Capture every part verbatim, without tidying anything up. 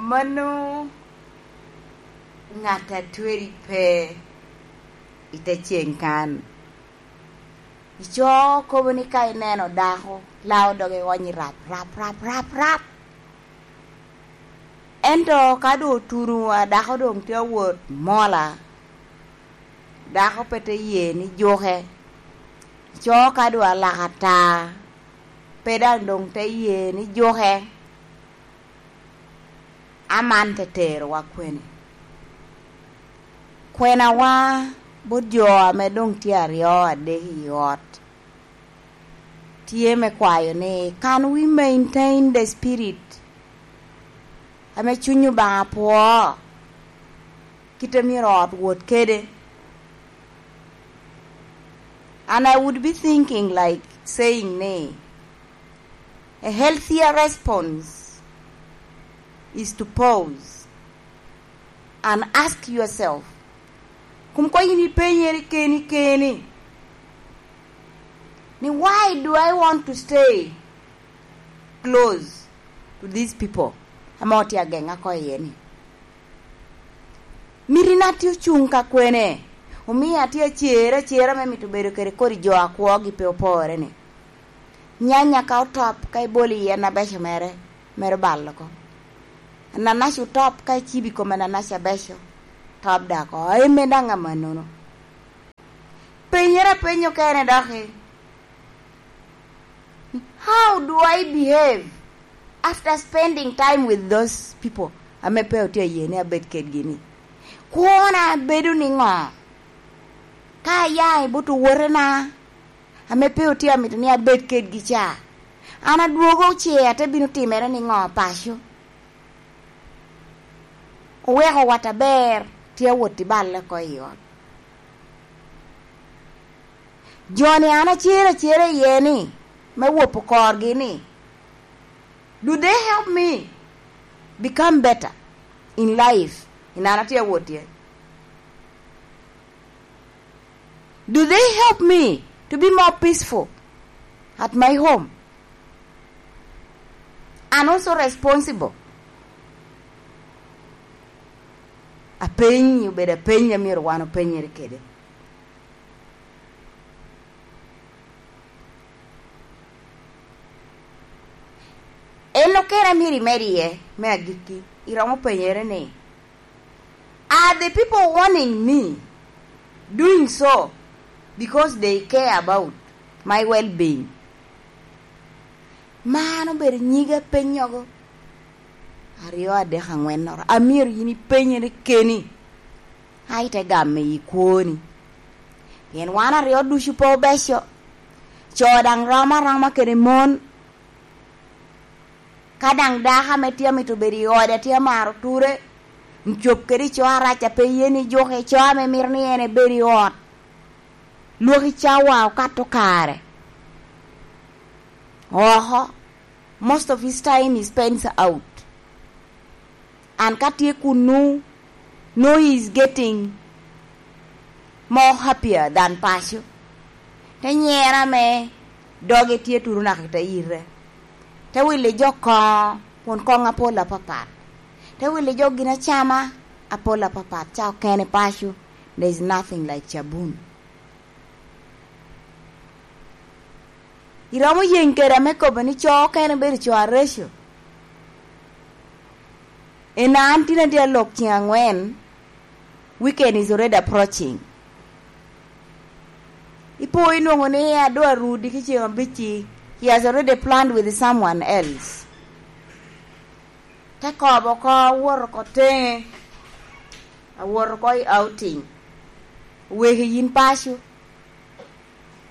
Mano ŋat a tweri pe i te ceŋ kan. Icoo kobo ni ka ineno dako, lao doge iwonyi rap, rap, rap, rap, rap. Ento ka doŋ otuno a dako doŋ tye awot mola, dako pe te ye ni juke. Icoo ka doŋ alaka ata, pe daŋ doŋ te ye ni juke. Aman te terowa kwene? Kwenawa bot jo ame doŋ tye aryo adek i ot tye me kwayo ni, can we maintain the spirit ame Cuny Obaŋa pwoo, kit a myero ot wot kede? And I would be thinking like saying ni, a healthier response is to pause and ask yourself, kun koŋ yin ipenyere keni keni ni, why do I want to stay close to these people ame otye ageŋa oko iye ni? Mito in atye ocuŋ ka kwene? Omio atye acer acera me mito bedo kede kodi jo a kwogi pe opore ni, nyanya ka otop, ka ibolo i en abeco mere, mere balo oko. Ananaci otop, ka icibo i kom ananaci abeco, top daŋ oko. Aye me daŋ amannono. Penyere apenyo kene doki, how do I behave after spending time with those people ame pe otye aye ni abed kedgi ni? Kwona bedo ni ŋo? Ka aya i bot owotena ame pe otye amito ni abed kedgi ca, an adwogo ce ate bino timere ni ŋo paco? Oweko wat aber tye awot i balle oko i ot. Jo-ni an acer acera iye ni, me wopo korgi ni, do they help me become better in life? In an atye awot iye. Do they help me to be more peaceful at my home? And also responsible. Apeny, obedo apeny a myero wan openyere kede. En okene a myero imed iye, me agikki, iromo penyere ni, are the people warning me doing so because they care about my well-being? Man obedo nyiga penyogo aryo, adek, aŋwennoro a myero yin ipenyere keni, a ite gamo i kwoni. Pien wan aryo ducu pe obeco. Co daŋ rom aroma kede mon. Ka daŋ dako ame tye amito bedo i ode tye amaro ture, cob kede i co arac a pe ye ni juke, i co ame mito ni en ebed i ot, lwaki cawa okato kare oko. Most of his time he spends out. And ka tye kunnu, no, he is getting more happier than paco. Te nyera ame doge tye turu naka i te yite. Te wili jo koŋo, kun koŋo apol apapat. Te wili jo gin acama apol apapat, ca okene paco. There is nothing like cabun. Iromo yeŋ kede ame kobo ni co okene bedo co areco. Ena an tin atye alok ceŋ aŋwen, weekend is already approaching. Ipo inwoŋo ni ado arudi ki ceŋ abicci, he has already planned with someone else. Te kobo oko, awot oko teŋe, awot oko i outing. Oweki yin paco.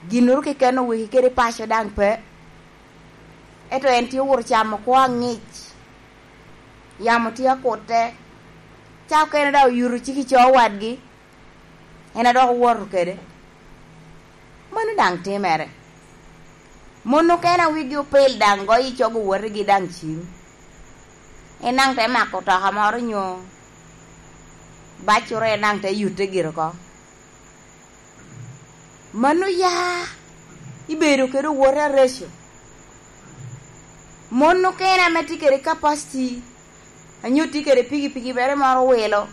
Ginnoro keken oweki kede paco daŋ pe. Ento en tye owot ocamo kwo aŋic. Yamo tye akute. Ca okene daŋ oyuto cik i co wadgi. En a dok owoto kede. Mano daŋ timere. Mon okene a wigi opil daŋ goyo i cogo wotigi daŋ cim. En daŋ te mako toka moro nyo bacure, en daŋ te yute gire oko. Mano ya ibedo kede owote areco. Mon okene ame tye kede capacity, anyo tye kede pikipiki mere moro wilo,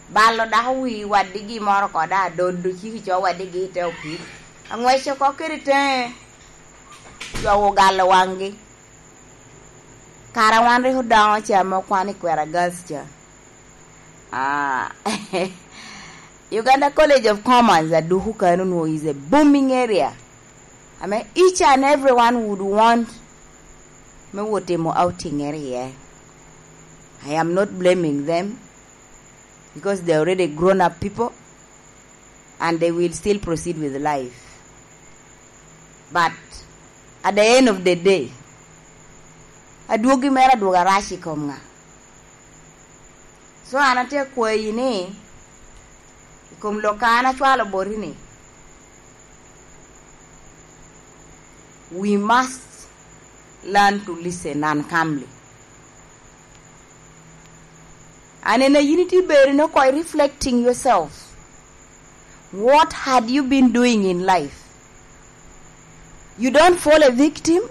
balo dako wi wadigi moro koda adodo ciki co wadigi i te opii, angwec oko kede teŋe, jo ogalo waŋgi. Kara wan rik odoŋo ca ame okwano i Kwera Girls ca. Ah, Uganda College of Commerce aduku kano nwo is a booming area. Ame each and everyone would want me wot timo outing ere iye. I am not blaming them because they are already grown up people and they will still proceed with life. But at the end of the day, adwogi mere adwogo arac i kom ŋa? So an atye akwayi ni, i kom lok a an acwalo boti ni, we must learn to listen and calmly. And in a unity bedo no koi reflecting yourself. What had you been doing in life? You don't fall a victim.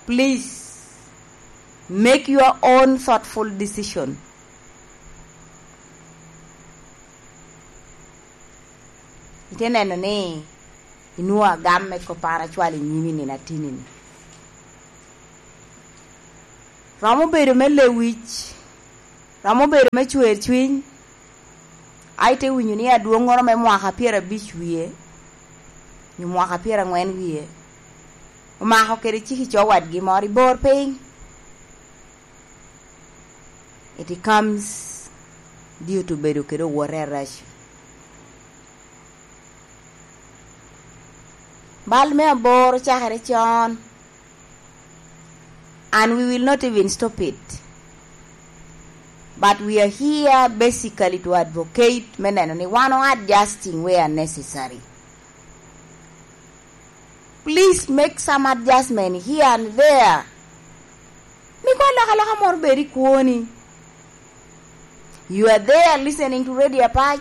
Please make your own thoughtful decision. Ite neno ni inwoŋo agam me kop an acwalo i nyimi nino atini-ni. Romo bedo me lewic, romo bedo me cwer cwiny, a ite winyo ni adwoŋŋoro me mwaka pyerabic wie, nyo mwaka pyeraŋwen wie, omako kede cik i co wadgi moro i bor piny. It comes due to bedo kede owote arac. Bal me aboro cakere con, and we will not even stop it. But we are here basically to advocate me neno ni wan o adjusting where necessary. Please make some adjustment here and there. Mi kwan alokaloka moro bed i kwoni. You are there listening to Radio Apac.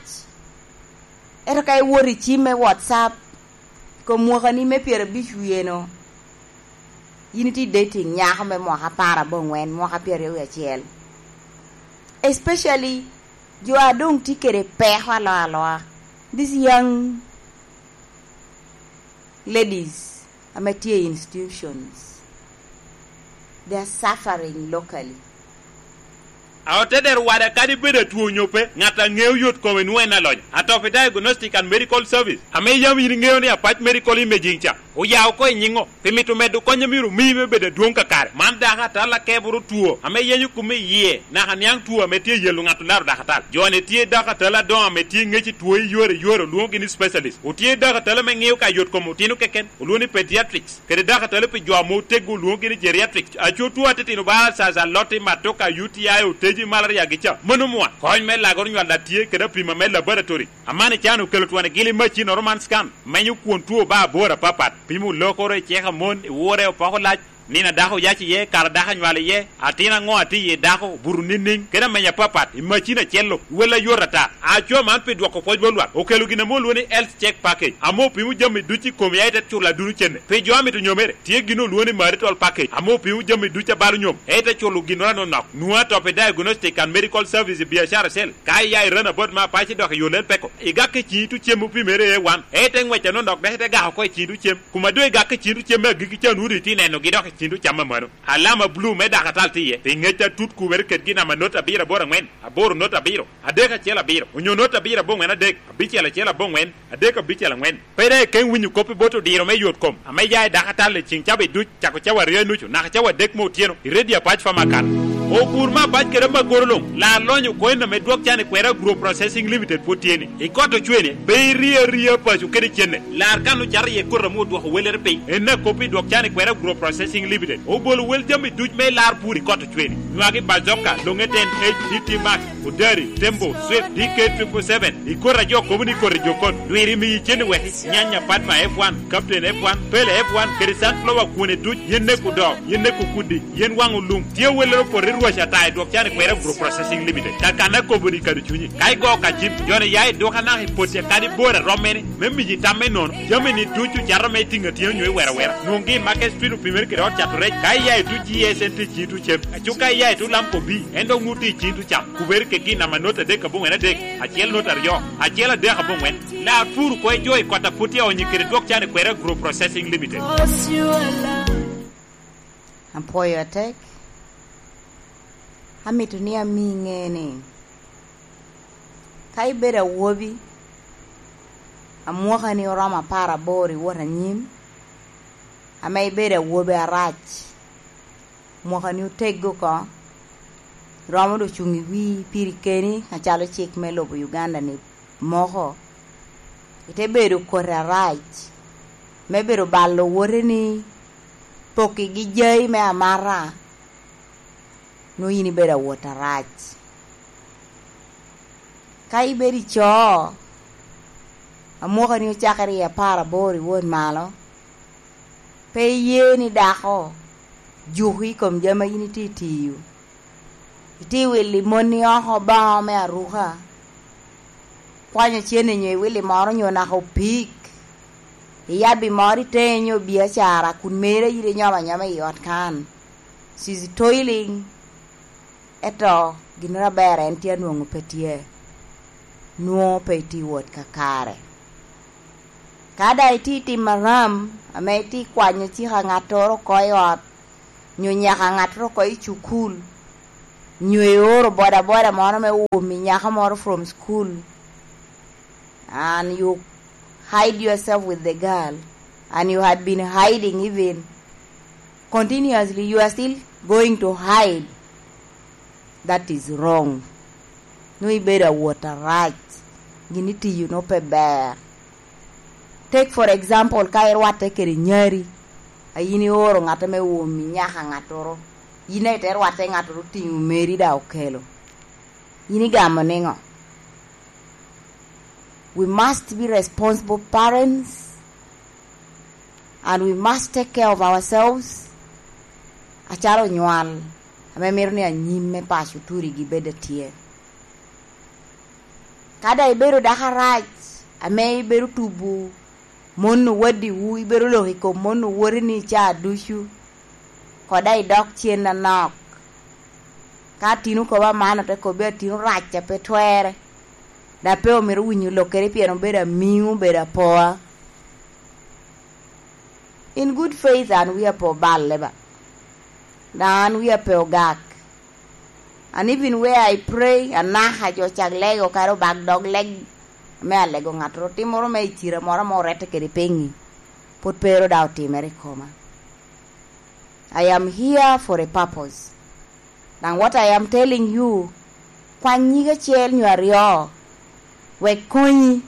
Ento ka iwoto i cim me WhatsApp, kom mwakani me pyerabic wiye-nu, yin itye dating nyako me mwaka apar abongwen, mwaka pyeraryo wiye acel. Especially jo a doŋ tye kede peko aloa aloa. These young ladies ame tye i institutions, they are suffering locally. A otedero wada kadi bedo atwo onyo pe, ŋat a ŋeo yot kome nwoŋo en alonyo. Atop i Diagnostic and Medical Service, ame yam yin iŋeo ni Apac Medical Imaging ca oya oko i nyiŋo, pi mito medo kony a myero omii me bedo adwoŋ kakare. Man dako atal akeboro two ame yenyo kume i yie, naka niaŋ two ame tye yelo ŋat olaro dako atal. Jo-ni tye dako atal adoŋo ame tye ŋec i two i yore i yore, olwoŋogi ni specialist. Otye dako atal ame ŋeo ka yot kom otino keken, olwoŋo ni pediatrics. Kede dako atali pi jo ame oteggo olwoŋogi ni geriatric. Aco two atitino ba ulcers, aloti, matoka, U T I, oteji, malaria gi ca. Mano mwa. Kony me lagoro nywal a tye kede apima me laboratory. Aman i can okelo twon i gili macinnoro man scan. Menyo kwon two ba aboro apapat. Pimo lokoro, iceko amon, iwure, opoko lac, nino a dako oyac iye, kare a dako anywalo iye, atin aŋo a tye iye dako, buto niŋniŋ, kede ameny apapat. I macin acel-lo, wel ayot ata. Aco man pi dwoko pwoc bot lwak, okelo gin ame olwoŋo ni Health Check Package, ame opimo jami ducu i komi, aye te culo aduno cene. Pi jo a mito nyomere, tye gin olwoŋo ni Marital Package, ame opimo jami ducu a balo nyom, aye te culo ginnoro anonok. Nwoŋo atop i Diagnostic and Medical Service i biacara acel. Ka iya i Runabout me Apac idok i yo Lel Peko, igak i ciŋi tucem opimere A one, aye te ŋwec anonok, dok ite gak oko i ciŋi tucem. Kuma doŋ igak i ciŋi tucem me agikki ca, nwoŋo doŋ itye nenogi dok i ciŋi tucam amanno. Alama bulu me dako atal tye iye, pi ŋec atut kubere kedgi namba not abiro aboro aŋwen, aboro not abiro, adek acel abiro, onyo not abiro aboŋwen adek, abicel acel aboŋwen, adek abicel aŋwen. Pe daŋ ikeŋ winyo kop i bot odiro me yot kom ame ya i dako atal i ciŋ cawa duc, cako cawa aryo i nucu naka cawa adek me otyeno i Radio Apac Pharmacan. Ogur me Apac kede Magoro luŋ, lar lonyo coin ame dwok can i kwera Agro Processing Limited pwod tye ni. I kot ocwene, pe iri aria paco kede cene. Lar kan ocato iye koti ame odwoko wellere piny. En akop i dwok can i kwera Agro Processing Limited. Obolo wel jami duc me lar pur i kot ocwene. Nywagi bazoka, longe ten H, D T Max, odari, tembo, swift, D K triple seven. I koti a jo kobo ni koti jokon. Lwiri miyi cen i weki. Nyanya Padma F one, Captain F one, Pele F one, kede sunflower kwone duc, yen neko do, yen neko kudi, yen waŋo lum. Tye wellere poto i Paco ata i dwok can i kwera Group Processing Limited. Ka kan akobo ni kado cunyi. Ka igo ka cim, joni ya i dwok anaka i potti kadi bor a romme ni, me miji tam me nono. Jami ni ducu cato me tiŋa tiŋa nyo i wera wera. Nwoŋgi i Market Street opimere kede ot cato rec. Ka iya i tu G S N T ci tu cem. Aco ka iya i tu Lamco B, en dok nwoŋo tye i ci tu cam. Kubere kegi namba not adek aboŋwen adek, acel not aryo, acel adek aboŋwen. Lar pur kwo i jo i kot a put tye onyi kede dwok can i kwera Group Processing Limited. Apwoyo atek. Amito ni ami ŋe ni, ka ibedo awobi, amwakani oromo apar aboro i wot anyim, ame ibedo awobi arac, mwakani oteggo oko, iromo doŋ cuŋ i wii piri keni acalo cik me lobo Uganda-ni moko, ite bedo koti arac, me bedo balo woteni, pokigi jai me amata, nwoŋo yin ibedo awot arac. Ka ibedo i co, amwakani ocakere i apar aboro i wot malo, pe iye ni dako juki i kom jami a yin itye itiyo. Itye wilo i moni oko baŋo me aruka, kwanyo cene nyo iwilo i moro nyo naka opik, iyabbi moro i teŋe nyo biacara kun mere yin inyomo anyoma i ot kan. She's toiling, ento ginnoro aber en tye anwoŋo pe tye, nwoŋo pe itye wot kakare. Ka daŋ itye i tim aram, ame itye kwanyo cika ŋattoro oko i ot, nyo nyaka ŋattoro oko i cukul, nyo ioro bodaboda moro me omi nyako moro from school, and you hide yourself with the girl, and you had been hiding even continuously, you are still going to hide. That is wrong. Nwoŋo ibedo awot arac, gin itiyo nwoŋo pe ber. Take for example, ka irwatte kede nyari, a yin ioro ŋatte me omi nyaka ŋattoro, yin aye te rwatte ŋattoro otiŋo meri daŋ okelo. Yin igamo niŋo? We must be responsible parents and we must take care of ourselves acalo onywal ame mito ni anyim me paco turigi bed atye. Ka daŋ ibedo dako arac ame ibedo tubo mon owaddiwu, ibedo lok i kom mon owoteni caa ducu, kodi daŋ idok cen anok. Ka atino kobo aman, ote kobbi atino rac a pe twerre, daŋ pe omito winyo lokkere pien obedo amiŋo, obedo apoa. In good faith, an wia pe oballe ba, daŋ an wia pe ogak. And even where I pray, anaka jo cak lego kara obak dog leg me alego ŋattoro, timmoro me i cira moro ame orette kede peŋi, pwod pe ero daŋ otimere i koma. I am here for a purpose. Daŋ what I am telling you, kwany nyig acel nyo aryo, wek konyi,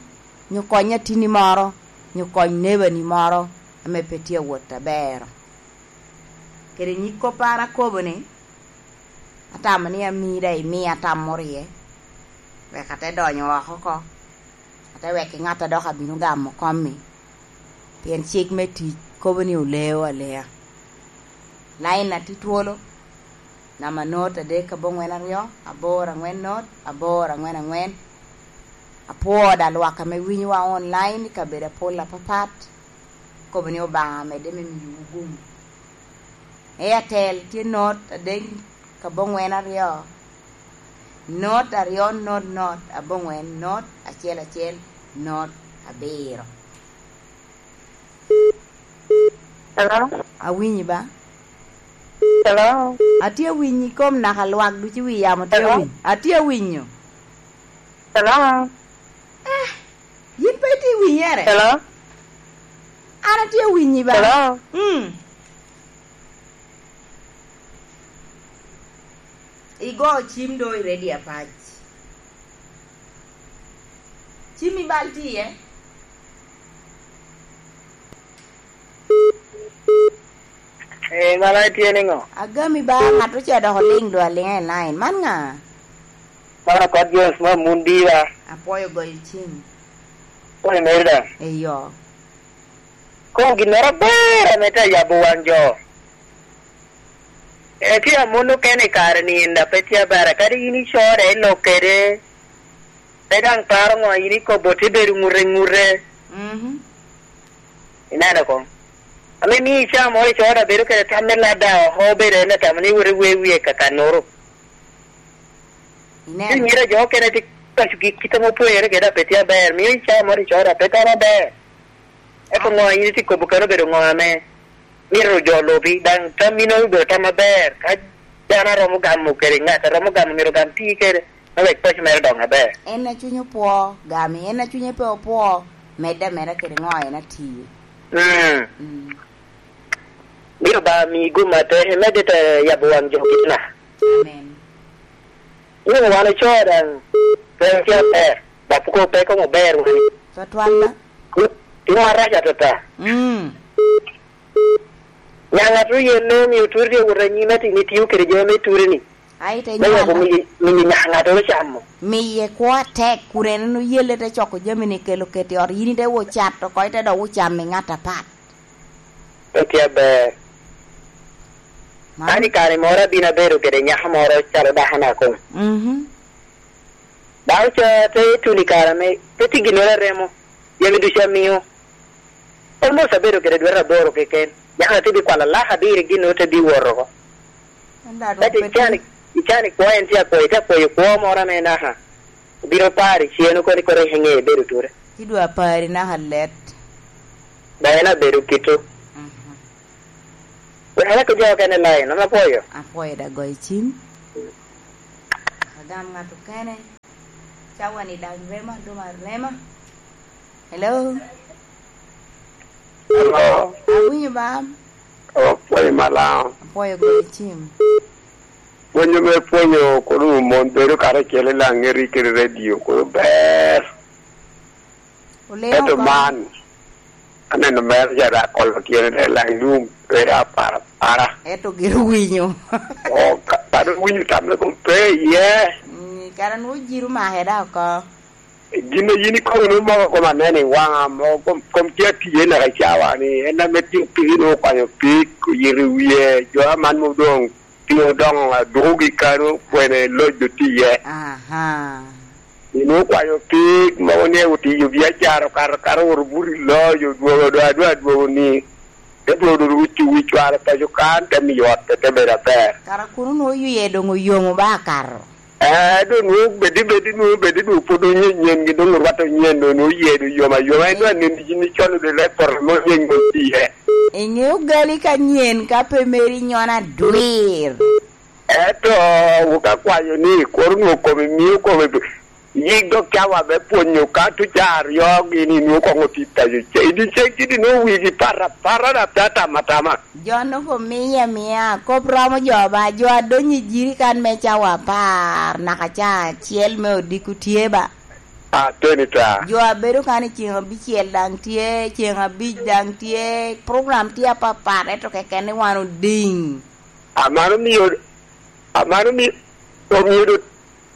nyo kony atini moro, nyo kony nebani moro ame pe tye awot aber. Kede nyig kop an akobo ni, atamo ni ami daŋ imia tam moro iye, wek ate donyo oko oko, ate wek i ŋat a dok abino gamo kommi, pien cik me tic kobo ni oleo alea. Lain a tye twolo, namba not adek aboŋwen aryo, aboro aŋwen not, aboro aŋwen aŋwen. Apwoo daŋ lwak ame winyowa online i kabedo apol apapat, kobo ni Obaŋa medde me miyowu gum. Airtel tye not adek aboŋwen aryo, not aryo not not aboŋwen not acel acel not abiro. Hello? Awinyi ba? Hello? Atye awinyi kom naka lwak ducu wi yamo tye Hello? awinyo. Atye awinyo. Hello? Ah, yin pe itye winyere? Hello? An atye awinyi ba? Hello? Mm. Igo cim do i ready apac. Cim i bal tye iye? Eh, mano itye niŋo? Agami ba, ŋat ocoo dok oliŋ do aliŋa i line. Man ŋa? Man apat James ma mun diwa. Apwoyo goyo cim. Koni meri daŋ? Eyo. Koŋ ginnoro aber ame te yabo waŋ jo. Etye amon okene i kare-ni, en daŋ pe tye aber, kadi yin icoro i lok kede, pe daŋ paro ŋo yin ikobo, tye bedo ŋute ŋute. Mhm. Ineno koŋ. Ame mio icaa moro icoro daŋ bedo kede tam me lada oko, obedo en atamo ni wot iwe wie kakannoro. Ineno. Cunyere jo okene tye pacogi kite ame opwonyere kede daŋ pe tye aber, mio icaa moro icoro daŋ pe tam aber. Ento ŋo a yin itye kobo kano obedo ŋo ame mito jo lubi, daŋ tam inono obedo tam aber. Ka dano a romo gamo kede ŋat a romo gamo myero ogam ti kede, me wek paco mere odong aber. En a cunye opwo, gami. En a cunye pe opwo, medde ameda kede ŋo en atiye. Mm. Mm. Myero ba mi gum atek, imedde te yabo waŋ jo kite na. Amen. Yin wan ocoo daŋ, pe tye aber, dok peko pe koŋ ober wani. Twatwal da. Timo arac atata. Mm. Nyaŋ atu yen ne omio turi tye wot anyim ati ni tio kede jami me turi ni. Ai te me weko nywala. Miyo, miyo nyaŋ atu camo. Miye kwo atek, kun en oyelle te coko jami ni kelo keti ot, yin ite wo cat oko, ite dok wo camo i ŋat apat. Pe tye aber. Man. An i kare moro abino abedo kede nyako moro calo dakona koŋ. Mhm. Dako ca te tuno i kare ame pe tye ginnoro aremo, jami ducu amio. Almost abedo kede dwete aboro keken. Nyako te bikwalo alaka abiro gin te biwot oko. Ento adwoko Ento pe icani, tye. Icani kwo en tye akwayo, tye akwayo kwo moro ame naka. Obino paro i cen oko ni kore i ŋe ibedo ture. Ci dwa pari naka let. Ba en abedo kito. Mhm. Wek alak jo okene lain, an apwoyo. Apwoyo da goyo cim. Agam ŋat okene. Cawa ni daŋ rema, dum arema. Hello? Hello? Awinyo bam. Apwoyo malaŋ. Apwoyo goyo cim. Pwonyo me pwonyo kono mon bedo karacel i Laŋeri kede redio kono ber. Oleo Ento oko. Man, aneno mere ca dak kolo tyene te laŋ yum, pe apara para. Ento gin owinyo. O, ka, kadi owinyo tamme kom pe iye. Mm, kara nwo jiro make da oko. Gin a yin ikobo nwo moko kom aneno i waŋa, mo kom, kom tye atiye naka i cawa ni, en ame tye pigi nwo okwanyo pig, oyito i wie, jo aman mo doŋ Pi odoŋo adukogi kano, kwene loc otye iye. Aha. Ino okwanyo pig mogo ni otiyo biacara, okato, okato owoto buto i loc, odwogo, odwogo, adwogo, adwogo ni, te dwogo dwogo wic, wic cware paco kan, te miyo ot pe te bedo aber. Kara kuno nwoŋo yie doŋ oyomo ba akato. Eh, doŋ nwoŋo bedi, bedi, nwoŋo bedi, nwoŋo pwod onyen, nyen, gi doŋ orwatte onyen, doŋ nwoŋo yie doŋ yom ayoma. En doŋ anen, ni col doŋ lek poto mo nyen mo tye iye. Iŋeo gali ka nyen ka pe meri nyono adwir. Ento wuka kwayo ni, kor nwoŋo kome mio kome yik dok cawa me pwonyo ka tuca aryo gini nwoŋo koŋ otit paco. Ce-, i dyeceŋ gini nwoŋo wigi pat apata dap te atamo atama. Jo nwoŋo miye amia, kop romo jo ba, jo adonyo i jirikan me cawa apar naka ca acel me odiko tye ba. Ateni ta. Jo a bedo kan i ceŋ abicel daŋ tye, ceŋ abic daŋ tye, program tye apapat, ento keken ni wan odiŋ. Amano mio, amano mi-, omio do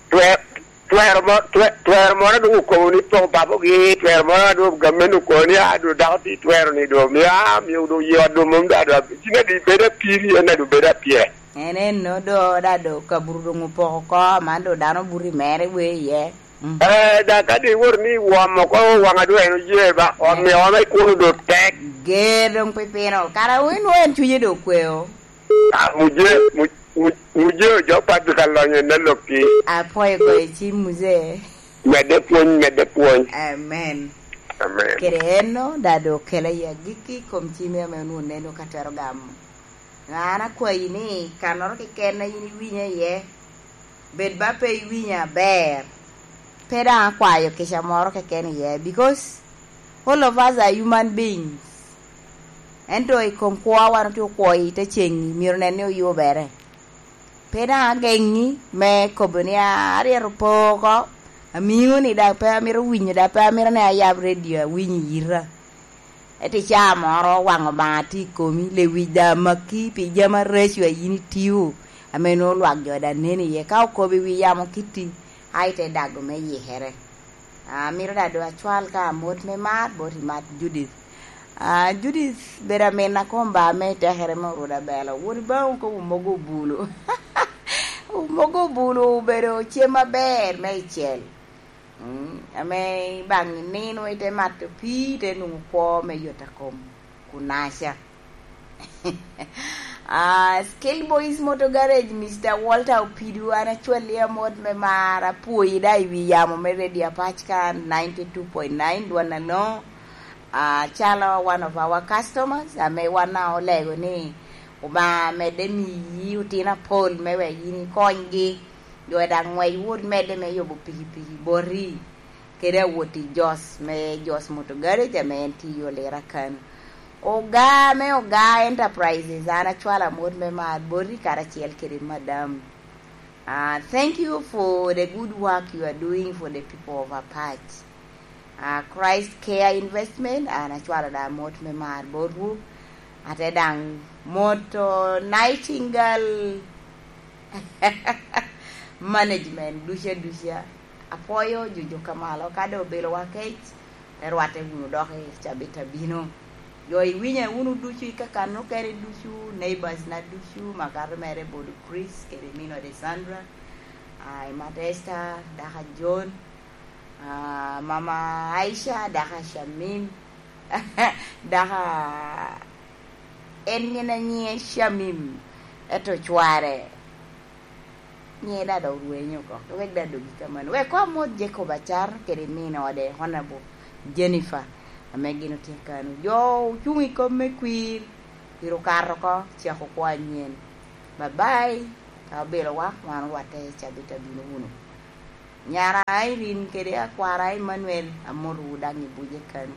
twer-, twero mo-, twe-, twero moro doŋ okobo ni poko babogi, twero moro a doŋ gamente okobo ni, "Ah, do dako ti twero ni do, mio, ah, mio do yot do mom da, do, cina di bedo apiri, en a do bedo apye." En eno do, da do kaburu doŋ opoko oko, man do dano buto i mere we iye. Mm. Eh, da ka di wot ni wom oko waŋa doŋ en oye ba, omio wa me kuno do tek. Ger doŋ pipino, kara wun inwoŋo en cunye do okweo. Ah, muje, mu-, mu-, muje ojo pat ka lonyo ne lokki. Apwoyo goyo cim, muje. Medde pwony, medde pwony. Amen. Amen. Kede eno, da do okela i agikki kom cim ame onwoŋo neno ka twero gamo. An akwayi ni, kannoro keken a yin iwinya iye, bed ba pe iwinya aber, pe daŋ akwayo kica moro keken iye, because all of us are human beings. Ento i kom kwo wan otye okwo i te ceŋ, myero nen ni oyubere. Pe daŋ ageŋi me kobo ni, "Ah, aryero po oko, amiŋo ni daŋ pe amito winyo, daŋ pe amito ni ayab redio awiny i yita." Ento i caa moro waŋ Obaŋa tye i komi, lewic daŋ amaki pi jami areco a yin itio, ame nwoŋo lwak jo daŋ neno iye. Ka okobo i wi yamo kitti, a ite dago me yikere. Amito daŋ doŋ acwal ka amot me mar bot i Mat Judith. Ah, Judith bedo amin akomba me tekere me oruda belo. Wot i baŋ okobo mogo obulu. Mogo obulu obedo cem aber me icel. Mm, ame ibaŋ inino ite mato pii, ite nwoŋo kwo me yot akom kunaca. Ah, Skill Boys Motor Garage, Mister Walter Opidu, an acwalli amot me mar, apwoyi da i wi yamo me Radio Apac ka ninety two point nine dwan Alongo. Ah, calo one of our customers, ame wan a olego ni Obaŋa medde miyi otino apol me wek yin ikonygi. Jo daŋ ŋwec wot medde me yubo pikipiki boti, kede awot i Jos, me Jos Motor Garage, ame en tye i Olira kan. Oga me Oga Enterprises, an acwalo amot me mar boti karacel kede madam. Ah, thank you for the good work you are doing for the people of Apac. Ah, Christ Care Investment, an acwalo da amot me mar botwu. Ate daŋ moto Nightingale Management duca duca. Apwoyo jujuk ka malo, ka doŋ obelowa kec, te rwatte wunu dok i cabit abino. Jo iwinya wunu ducu i kakan okene ducu, neighbors na ducu, makato mere Bodo Chris, kede Mino de Sandra, ah, Emata Esther, daka John, ah, Mama Aisha, daka Shamim, daka en gin anyiŋe Shamim, eto cware nyiŋe da dok rwenyo oko, wek da dogi kamano. Wek koŋ amot Jacob Acar kede min ode, Honorable Jennifer, ame gin otye kano. Jo ocuŋ i kom me kwir, pire okato oko, cako kwo anyen. Bye bye, ka obelowa, wan orwatte i cabit abino wunu. Nyara Irene kede akwara Emmanuel, amotowu daŋ i buce kano.